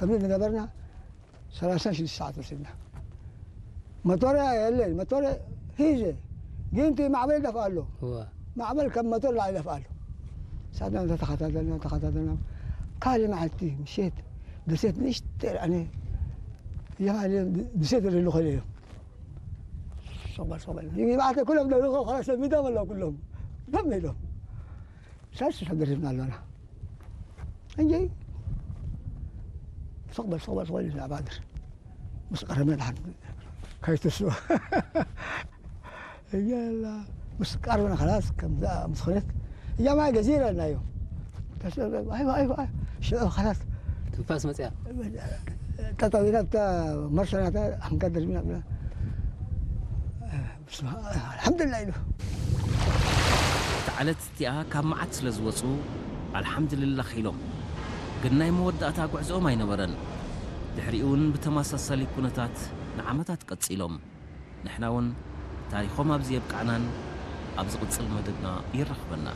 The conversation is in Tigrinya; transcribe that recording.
ከምዚ ዝገበርና ሰላሳ ሽዱሽተ ሰዓት ወሲድና። መቶረ የለን፣ መቶረ ሂዘ። ግን እቲ ማዕበል ይደፍእ ኣሎ። እወ። ማዕበል ከም መቶር ላዕሊ ይደፍእ ኣሎ። ሳድና ተተኸታተልና፣ ተኸታተልና። ካልእ መዓልቲ ምሸት ደሴት ንእሽተይ ርኣነ። የማነ ደሴት ይደሉ ኸለ እዮም። ሶበል፣ ሶበል። ይባዕተ ኩሎም ደልኾ፣ ኸላስ ሰሚዶም ኣለዉ ኩሎም። ደም ኢሎም። ሰስ ተደሪብና ኣለና። እንጂ ስቕ በል፣ ስቕ በል፣ ስቕ በል ኢልና ባድር። ምስ ቀረብና ድሓን ከይትስኡ። እያላ ምስ ቀርብና ኸላስ ከምዛ ምስ ኾነት እያ ማይ ገዚረ ኢልናዮ። ተስ-፣ ኣይዋ፣ ኣይዋ፣ ሽዑ ኸላስ ትንፋስ መጽያ። ጠጠው ኢላ እታ መርሰናታ ኣንጋደር ሚና ብላ። ብስመ-፣ ኣልሓምዱሊላህ ኢሉ። እታ ዕለት እቲኣ ካብ መዓት ስለ ዝወጹ ኣልሓምዱሊላህ ኢሎም። ግን ናይ መወዳእታ ጉዕዞኦም ኣይነበረን። ድሕሪኡ እውን ብተመሳሳሊ ኩነታት ንዓመታት ቀጺሎም። ንሕና እውን ታሪኾም ኣብዚ የብቅዓናን ኣብ ዝቕጽል መደብና የራኽበና።